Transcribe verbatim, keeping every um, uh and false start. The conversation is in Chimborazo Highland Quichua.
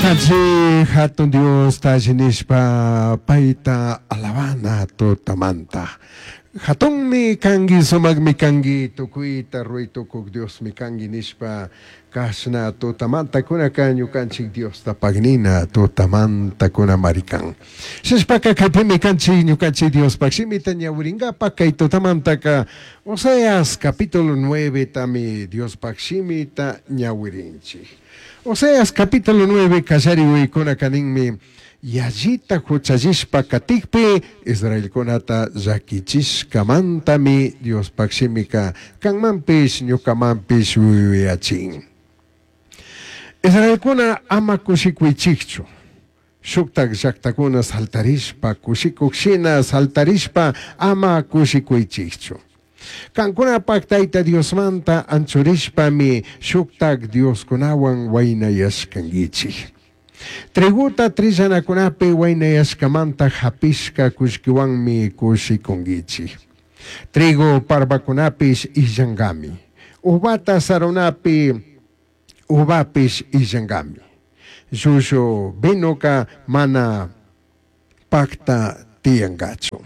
Ñukanchik hatun Diosta alli paita alabana tutamanta. Hatunmi kanki, sumakmi kanki, tukuyta ruwaytukuk Diosmi kanki nishpa kashna tutamanta kunaka ñukanchik Diosta pagnina tutamanta kunamari kan. Shishpaka kaypimi kanchik ñukanchik Diospaj shimita ñawirinkapak kay tutamantaka Oseas capítulo nueve tami Diospaj shimita ñawirinchik. Oseas capítulo nueve kallari uykunaka ninmi yallita huchallishpa katikpi Israelkunata llakichishkamantami Diospaj shimika kanmanpish ñukamanpish yuyachin. Israelkuna ama kushikuychikchu. Shuktak llaktakuna saltarishpa kushikuk shina saltarishpa ama kushikuychikchu. Kankunapak Tayta Diosmanta anchurishpami shuktak Dioskunawan waynayashkankichik. Triguta trillanakunapi waynayashkamanta hapishka kullkiwanmi kushikunkichik. Trigo parbakunapish illankami. Uvata sarunapi uvapish illankami. Llullu vinoka mana pakta tiyankachu.